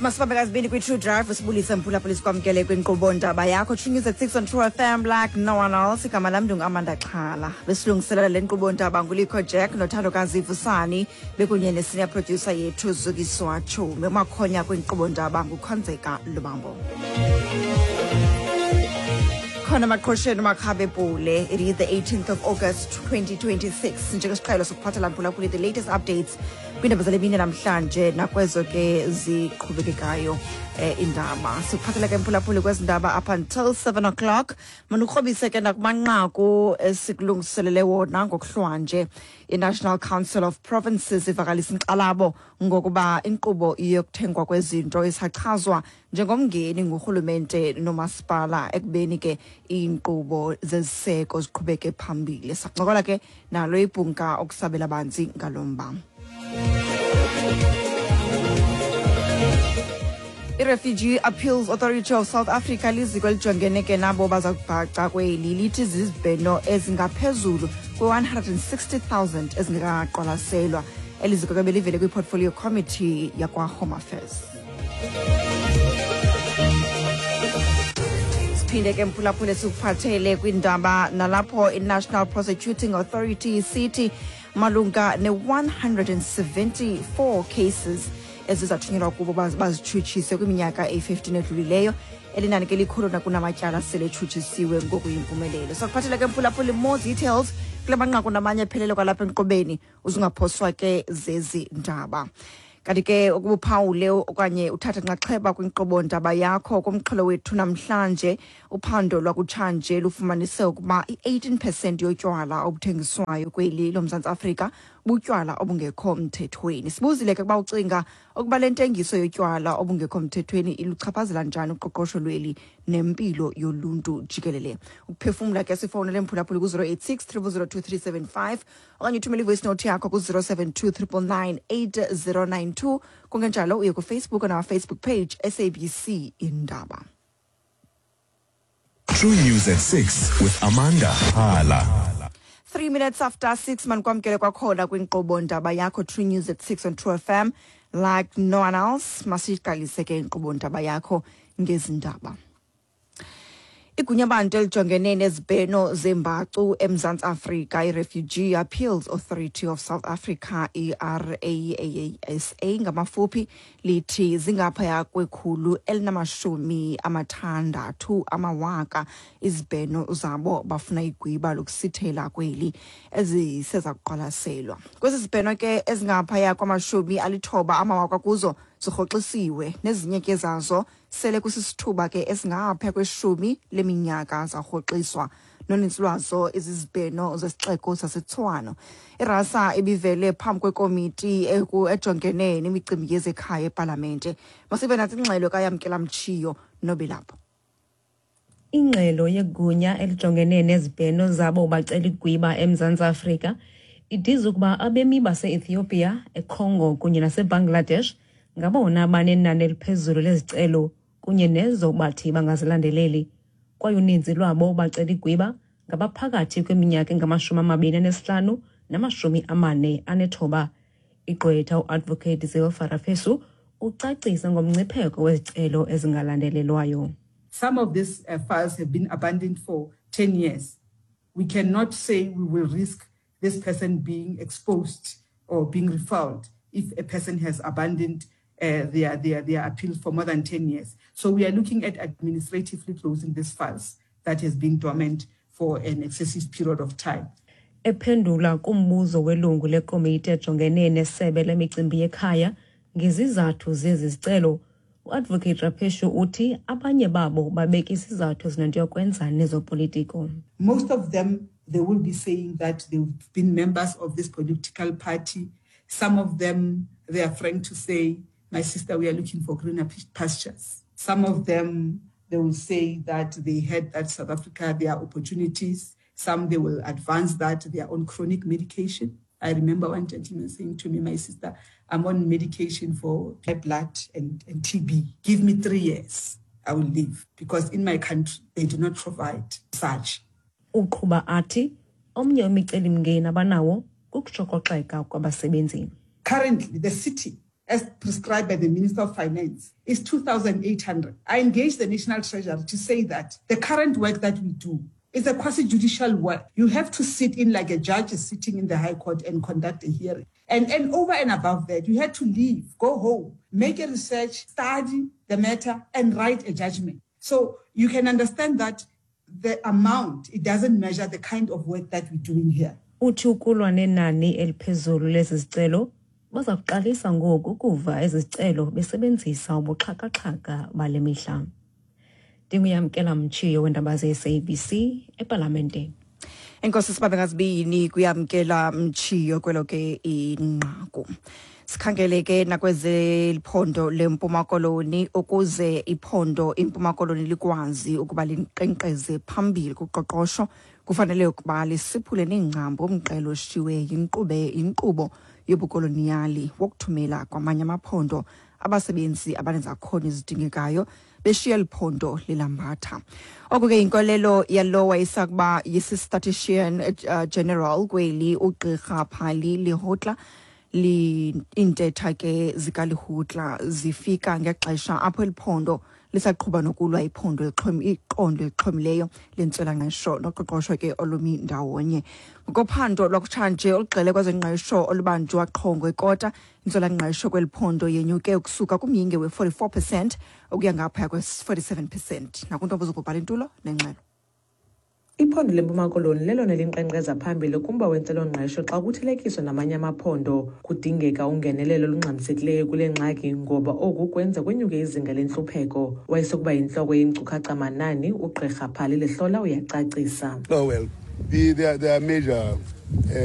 Masibambe kazibini kwi-True Drive, sibulise mphulaphula, sikwamkele kwinkqubo ndaba yakho True News at 6 on True FM like no one else. Igama lam ndinguAmanda Xhala. Besilungiselela le nkqubo ndaba nguLikho Jack noThandokazi Vusani bekunye ne-senior producer yethu Zukiswa Chumi. Umakhonya kwinkqubo ndaba nguKhonzeka Lubambo. Khona maqhosheni uMakhabe Pule. It is the 18th of August 2026. Njengesiqhelo sokuphathela mphulaphuli the latest updates kwiindaba zale mini namhlanje nakwezo ke ziqhubekekayo indaba. Sikuphathela ke mphulaphuli kwezi ndaba up until 7 o'clock. Manukrobise ke nakumanqaku esikulungiselele wona ngokuhlwanje. I-National Council of Provinces ivakalisa inkxalabo ngokuba inkqubo yokuthengwa kwezinto isachazwa njengomngeni ngurhulumente nomasipala ekubeni ke iinkqubo zeziseko ziqhubeke phambili. Sakuncokola ke nalo ibhunga ukusabela banzi ngalo mba. I-Refugee Appeals Authority of South Africa liziko elijongene ke nabo baza kubhaca kweli lithi zizibheno ezingaphezulu kwe-160,000 ezingekaqwalaselwa. Eli ziko ke belivele kwi-Portfolio Committee yakwa-Home Affairs. Siphinde ke mphulaphule sikuphathele kwindaba nalapho i-National Prosecuting Authority isithi malunga ne-174 cases ezizathunyelwa kubo bazitshutshise kwiminyaka eyi-15 edlulileyo. Elinani ke likhulu nakunamatyala sele etshutshisiwe ngokuyimpumelelo. Sakuphathela ke mphulaphuli more details kule manqaku namanye ephelele kwalapha enkqubeni, uzungaphoswa ke zezi ndaba. Kanti ke ukuba uphawule okanye uthathe nxaxheba kwinkqubo ndaba yakho kumxholo wethu namhlanje, uphando lwakutshanje lufumanise ukuba i-18 percent yotywala obuthengiswayo kweli loMzantsi Afrika butywala obungekho mthethweni. Sibuzile ke ukuba ucinga ukuba le ntengiso yotywala obungekho mthethweni iluchaphazela njani uqoqosho lweli nempilo yoluntu jikelele. Ukuphefumla ke sifowunele mphulaphuli ku-086 000 2375 okanye uthumele ivoice note yakho ku-072 999 8092. Kungenjalo uye kuFacebook on our Facebook page SABC Indaba. True News at 6 with Amanda Hala. 3 minutes after 6, manikwamkele kwakhona kwinkqubo ndaba yakho True News at 6 on True FM like no one else. Masiqalise ke inkqubo ndaba yakho ngezindaba. Igunyabantu elijongene nezibheno zembacu eMzantsi Afrika, i-Refugee Appeals Authority of South Africa, i-RAASA ngamafuphi, lithi zingaphaya kwe-160 amawaka izibheno zabo bafuna igwiba lokusithela kweli eziseza kuqwalaselwa. Kwezi zibheno ke ezingaphaya kwama-90 amawaka kuzo zirhoxisiwe, nezinye ke zazo sele kusisithuba ke esingaphaya kweshumi leminyaka zarhoxiswa. Noninzi lwazo izizibheno zesixeko saseTshwane. Irasa ibivele phambi kwekomiti ejongene nemicimbi yezekhaya epalamente. Masibe nathi ingxelo kaYamkela Mtshiyo nobelapho. Ingxelo yegunya elijongene nezibheno zabo bacela igwiba eMzantsi Afrika idiza ukuba abemi base-Ethiopia, eCongo kunye naseBangladesh ngabona banenani eliphezulu lezicelo kunye nezo bathi bangazilandeleli. Kwaye uninzi lwabo bacela igwiba ngabaphakathi kweminyaka engama-25 nama-49. Igqwetha uAdvocate Zilfa Rapesu ucacisa ngomngcipheko wezicelo ezingalandelelwayo. Some of these files have been abandoned for 10 years. We cannot say we will risk this person being exposed or being refiled if a person has abandoned their appeal for more than 10 years. So we are looking at administratively closing these files that has been dormant for an excessive period of time. Ephendula kumbuzo welungu lekomiti ejongene nesebe lemicimbi yekhaya ngezizathu zezi zicelo, uAdvocate Rapeshu uthi abanye babo babeka izizathu ezinento yokwenza nezopolitiko. Most of them, they will be saying that they've been members of this political party. Some of them, they are frank to say, my sister, we are looking for greener pastures. Some of them, they will say that they heard that South Africa, there are opportunities. Some, they will advance that they are on chronic medication. I remember one gentleman saying to me, my sister, I'm on medication for high blood and TB. Give me 3 years, I will leave. Because in my country, they do not provide such. Uqhuba athi, omnye wemicelimngeni abanawo kukushokoxeka kwabasebenzi. Currently, the city as prescribed by the Minister of Finance, is 2,800. I engaged the National Treasury to say that the current work that we do is a quasi-judicial work. You have to sit in like a judge is sitting in the High Court and conduct a hearing. And, and over and above that, you had to leave, go home, make a research, study the matter, and write a judgment. So you can understand that the amount, it doesn't measure the kind of work that we're doing here. Uthi ukulwa nenani eliphezulu lezi zicelo baza kuqalisa ngoku ukuva ezi zicelo besebenzisa ubuxhakaxhaka bale mihla. Ndinguyamkela Mtshiyo weendaba ze-SABC epalamente. Enkosi sibabe ngazibini kuyamkela Mtshiyo kwelo ke inqaku. Sikhangele ke nakwezeliphondo leMpuma Koloni. Ukuze iphondo iMpuma Koloni likwazi ukuba linkqenkqeze phambili kuqoqosho, kufanele ukuba lisiphule neengcambu umqelo oshiwe yinkqube inkqubo yobukoloniyali wokuthumela kwamanye amaphondo abasebenzi abanezakhono ezidingekayo, beshiya liphondo lilambatha. Oku ke yinkolelo yalo wayesakuba yisi-statistician general kweli, ugqirha Phali Lehotla. Iintetha ke zikaLehotla zifika ngexesha apho eliphondo lisaqhuba nokulwa iphondo iqondo elixhomileyo lentswelangqesho noqoqosho ke olumi ndawonye. Ngokophando lwakutshanje olugxele kwezengqesho olubanjwa qho ngekota, intswelangqesho kweli phondo yenyuke ukusuka kumyinge we-44% ukuya ngaphaya kwe-47%. Nakuntombo zokubhala intulo nengxelo. Iphondo leMpuma Koloni lelona linkqenkqeza phambili kumba wentswelongqesho xa kuthelekiswa namanye amaphondo. Kudingeka ungenelelo olungxamisekileyo kule ngxaki ngoba oku kwenza kwenyuke izinga lentlupheko. Wayesokuba yintloko yenkcukacha manani, ugqirha Phali Lehlola, uyacacisa. Oh, well, there are major